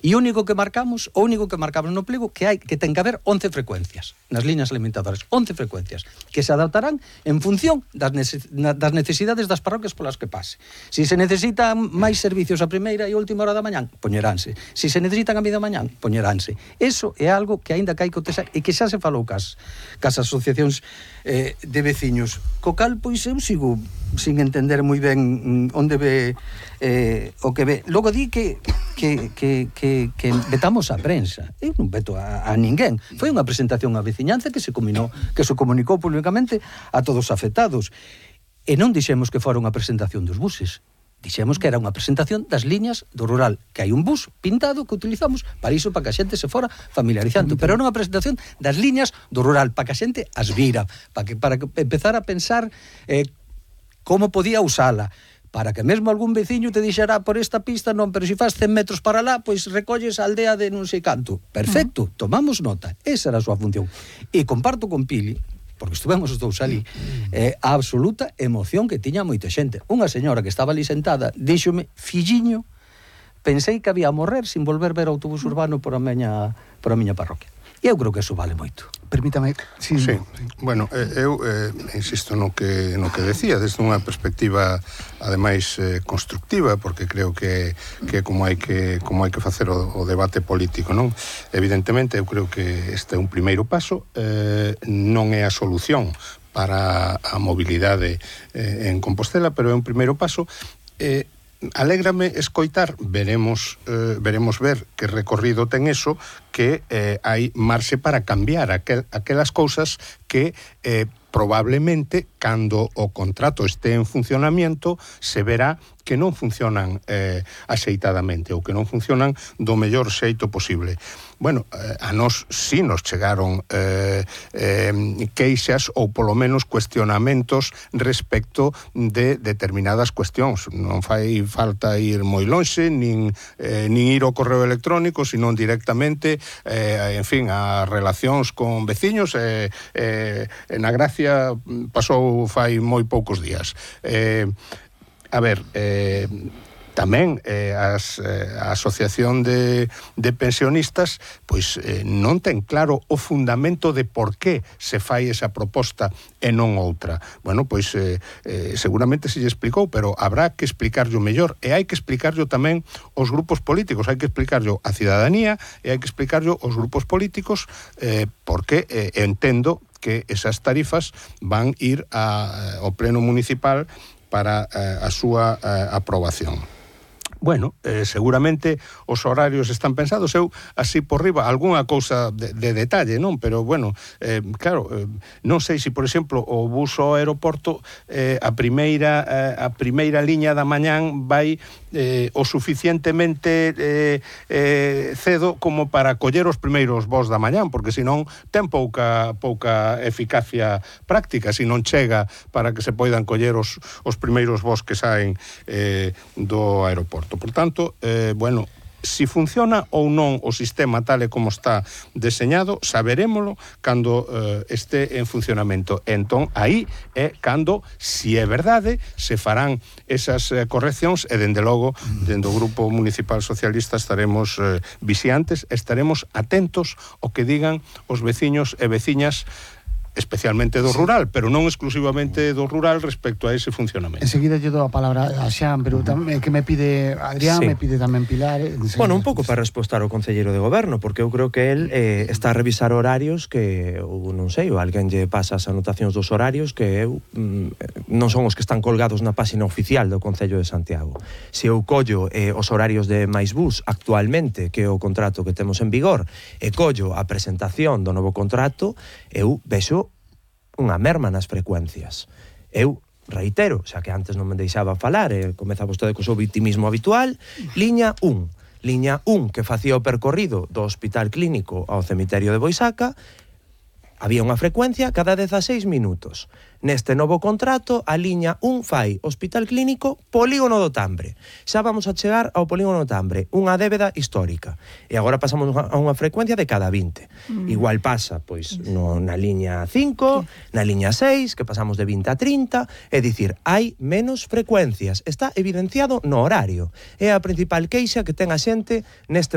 E o único que marcamos no pliego que ten que haber 11 frecuencias nas liñas alimentadoras, 11 frecuencias que se adaptarán en función das necesidades das parroquias polas que pase. Si se necesitan máis servicios a primeira e última hora da mañán, poñeránse. Si se necesitan a media mañán, poñeránse. Eso é algo que aínda que hai que cotexar e que xa se falou cas asociacións de veciños. Co cal, pois, eu sigo sin entender moi ben onde ve o que ve. Logo di que vetamos a prensa. Eu non veto a ninguén. Foi unha presentación á veciñanza que se comunicou públicamente a todos os afectados. E non dixemos que fora unha presentación dos buses. Dixemos que era unha presentación das liñas do rural, que hai un bus pintado que utilizamos para iso, para que a xente se fora familiarizando, pero era unha presentación das liñas do rural, para que a xente as vira, para que empezar a pensar como podía usala, para que mesmo algún veciño te dixera por esta pista non, pero se faz 100 metros para lá, pois recolles a aldea de non sei canto. Perfecto, tomamos nota, esa era a súa función. E comparto con Pili, porque estuvemos os dous ali, a absoluta emoción que tiña moita xente. Unha señora que estaba ali sentada díxome: filliño, pensei que había a morrer sin volver ver o autobús urbano por a miña parroquia. E eu creo que eso vale moito. Permítame. Sí. Bueno, eu insisto no que decía, desde unha perspectiva ademais constructiva, porque creo que como hai que facer o debate político, non? Evidentemente, eu creo que este é un primeiro paso, non é a solución para a mobilidade en Compostela, pero é un primeiro paso. Alégrame escoitar, veremos ver que recorrido ten eso, que hai marxe para cambiar aquelas cousas que probablemente, cando o contrato este en funcionamiento, se verá que non funcionan axeitadamente ou que non funcionan do mellor xeito posible. Bueno, a nós sí nos chegaron queixas ou polo menos cuestionamentos respecto de determinadas cuestións. Non fai falta ir moi lonxe, nin ir ao correo electrónico, senón directamente, en fin, as relacións con veciños. Na Gracia pasou fai moi poucos días. A ver, tamén a Asociación de Pensionistas pois non ten claro o fundamento de por que se fai esa proposta e non outra. Bueno, pois seguramente se lle explicou, pero habrá que explicarlo mellor, e hai que explicarlo tamén aos grupos políticos, hai que explicarlo á cidadanía e hai que explicarlo aos grupos políticos, porque entendo que esas tarifas van ir ao pleno municipal para a súa aprobación. Bueno, seguramente os horarios están pensados. Eu, así por riba, algunha cousa de detalle, non? Pero, bueno, claro, non sei se, por exemplo, o bus ao aeroporto, a primeira liña da mañán vai o suficientemente cedo como para coller os primeiros voos da mañán, porque senón ten pouca eficacia práctica, se non chega para que se poidan coller os primeiros voos que saen do aeroporto. Por tanto, bueno, si funciona ou non o sistema tal e como está deseñado, saberémolo cando este en funcionamento. Entón, aí é cando, si é verdade, se farán esas correccións, e dende logo, dende o Grupo Municipal Socialista estaremos vixiantes, estaremos atentos ao que digan os veciños e veciñas, especialmente do rural, pero non exclusivamente do rural respecto a ese funcionamento. Enseguida lle dou a palabra a Xan, pero tamén que me pide Adrián, me pide tamén Pilar. Bueno, un pouco para respostar ao concelleiro de goberno, porque eu creo que el está a revisar horarios que, ou non sei, ou alguén lle pasa as anotacións dos horarios que eu non son os que están colgados na páxina oficial do Concello de Santiago. Se eu collo os horarios de MaisBus actualmente, que é o contrato que temos en vigor, e collo a presentación do novo contrato, eu vexo unha merma nas frecuencias. Eu reitero, xa que antes non me deixaba falar, comeza vostede co seu vitimismo habitual, liña 1, que facía o percorrido do Hospital Clínico ao cemiterio de Boisaca, había unha frecuencia cada 16 minutos. Neste novo contrato, a liña 1 fai Hospital Clínico, Polígono do Tambre. Xa vamos a chegar ao Polígono do Tambre, unha débeda histórica. E agora pasamos a unha frecuencia de cada 20. Igual pasa, pois, na liña 5, na liña 6, que pasamos de 20 a 30, é dicir, hai menos frecuencias. Está evidenciado no horario. É a principal queixa que ten a xente neste